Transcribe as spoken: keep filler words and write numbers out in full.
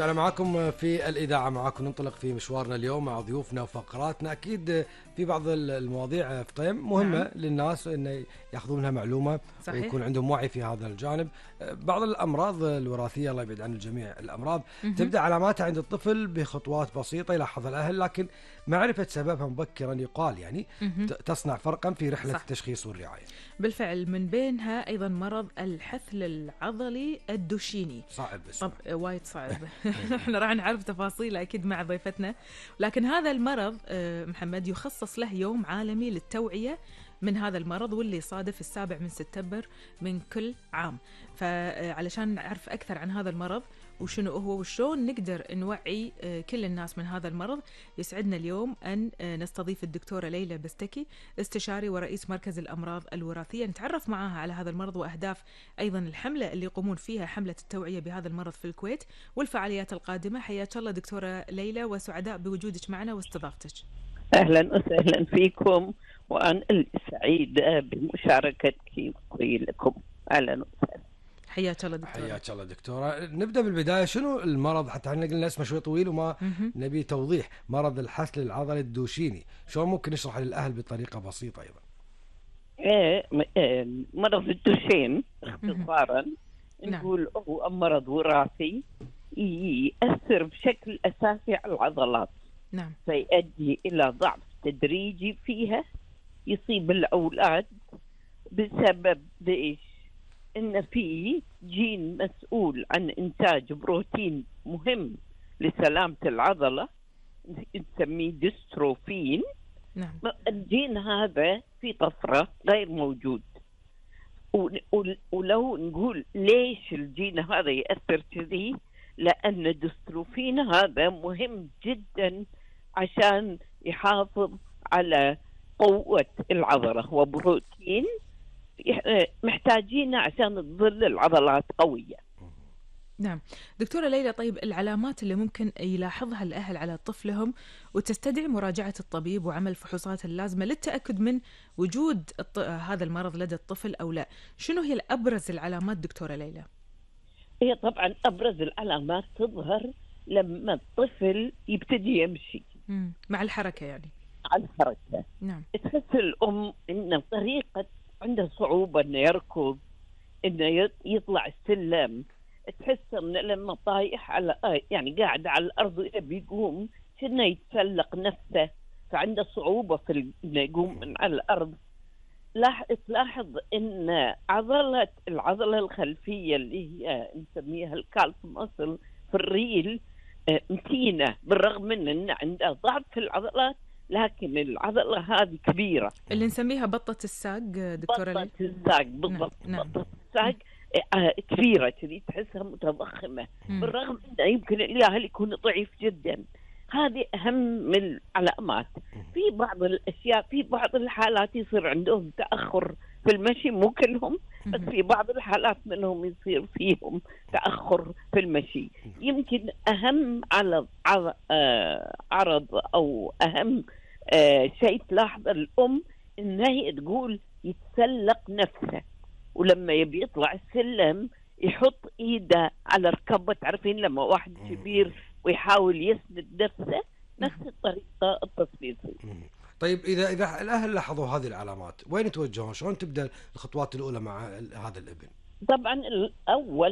رجعنا معكم في الإذاعة، معكم ننطلق في مشوارنا اليوم مع ضيوفنا وفقراتنا. أكيد في بعض المواضيع فطيم مهمة نعم. للناس إن يأخذون منها معلومة صحيح. ويكون عندهم وعي في هذا الجانب. بعض الأمراض الوراثية الله يبعد عن الجميع الأمراض م-م. تبدأ علاماتها عند الطفل بخطوات بسيطة يلاحظها الأهل، لكن معرفة سببها مبكرا يقال يعني م-م. تصنع فرقا في رحلة صح. التشخيص والرعاية. بالفعل من بينها أيضا مرض الحثل العضلي الدوشيني. صعب طب وايد صعب. احنا راح نعرف تفاصيله أكيد مع ضيفتنا، لكن هذا المرض محمد يخصص له يوم عالمي للتوعية من هذا المرض، واللي يصادف السابع من سبتمبر من كل عام. فعلشان نعرف أكثر عن هذا المرض وشنو هو وشون نقدر نوعي كل الناس من هذا المرض، يسعدنا اليوم أن نستضيف الدكتورة ليلى بستكي، استشاري ورئيس مركز الأمراض الوراثية، نتعرف معاها على هذا المرض وأهداف أيضا الحملة اللي يقومون فيها، حملة التوعية بهذا المرض في الكويت، والفعاليات القادمة. حياك الله دكتورة ليلى، وسعداء بوجودك معنا واستضافتك. أهلا وسهلا فيكم، وأنا سعيدة بمشاركتي لكم. أهلا وسهلا. حياك الله دكتورة. حياك الله دكتورة. نبدأ بالبداية، شنو المرض؟ حتى احنا قلنا اسمه شوي طويل وما م-م. نبي توضيح. مرض الحثل العضلي الدوشيني، شلون ممكن نشرح للأهل بطريقة بسيطة أيضا؟ إيه مرض الدوشين اختصارا نقول هو مرض وراثي يأثر بشكل أساسي على العضلات. نعم. فيؤدي إلى ضعف تدريجي فيها، يصيب الأولاد بسبب ليش؟ إن فيه جين مسؤول عن إنتاج بروتين مهم لسلامة العضلة نسميه ديستروفين. نعم. الجين هذا في طفرة غير موجود، ولو نقول ليش الجين هذا يأثر كذي، لأن الديستروفين هذا مهم جدا عشان يحافظ على قوة العضلة، هو بروتين محتاجينه عشان تظل العضلات قوية. نعم دكتورة ليلى، طيب العلامات اللي ممكن يلاحظها الأهل على طفلهم وتستدعي مراجعة الطبيب وعمل فحوصات اللازمة للتأكد من وجود الط... هذا المرض لدى الطفل أو لا، شنو هي الأبرز العلامات دكتورة ليلى؟ هي طبعا أبرز العلامات تظهر لما الطفل يبتدي يمشي مم. مع الحركة يعني على الحركة. نعم. تحس الأم إن طريقة عنده صعوبة إنه يركض، إنه يطلع السلم، تحس إن لما طايح على يعني قاعد على الأرض ويبي يقوم كأنه يتسلق نفسه، فعنده صعوبة في إنه يقوم من على الأرض. لاح تلاحظ إن عضلة العضلة الخلفية اللي هي نسميها الكالف ماسل في الريل متينة، بالرغم من إن عنده ضعف في العضلات، لكن العضلة هذه كبيرة اللي نسميها بطة الساق دكتورة ليلى. بطة الساق بالضبط. نعم. بطة الساق كبيرة كذي، تحسها متضخمة، م. بالرغم إنه يمكن الأهل يكون ضعيف جدا. هذه أهم من العلامات. في بعض الأشياء، في بعض الحالات يصير عندهم تأخر في المشي، مو كلهم بس في بعض الحالات منهم يصير فيهم تأخر في المشي. يمكن أهم على عرض أو أهم شيء تلاحظ الأم إنها تقول يتسلق نفسه، ولما يبي يطلع السلم يحط إيده على ركبه، تعرفين لما واحد كبير ويحاول يسند نفسه، نفس الطريقة التصوير. طيب إذا إذا الأهل لاحظوا هذه العلامات وين يتوجهون؟ شلون تبدأ الخطوات الأولى مع هذا الابن؟ طبعا الأول